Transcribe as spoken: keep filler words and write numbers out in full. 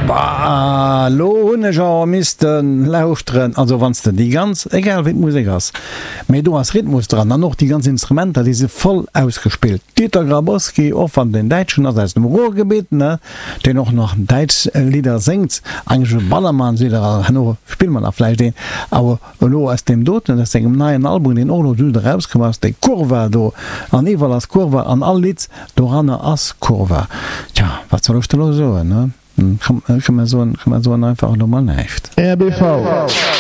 Bah, lo hunn ech awer missten lauschteren, also wann s de déi ganz, egal wéi d'Musek ass, mee do ass Rhythmus dran an och déi ganz Instrumenter, déi si voll ausgespillt. Dieter Grabowski, och wann deen Däitschen ass aus dem Ruhrgebiet, ne, deen och nach däitsch Lidder séngt, eigentlech e Ballermannslieder, a herno spille mer nach vläicht een, awer elo aus deem doten, aus sengem neien Album, deen och elo just erauskomm ass, déi Kurva do, an iwwerall ass Kurva an all Lidd doranner ass Kurva. Tja, wat soll ech da elo soen, ne? Komm, komm mer soen, komm mer soen einfach elo mol näischt. R B V.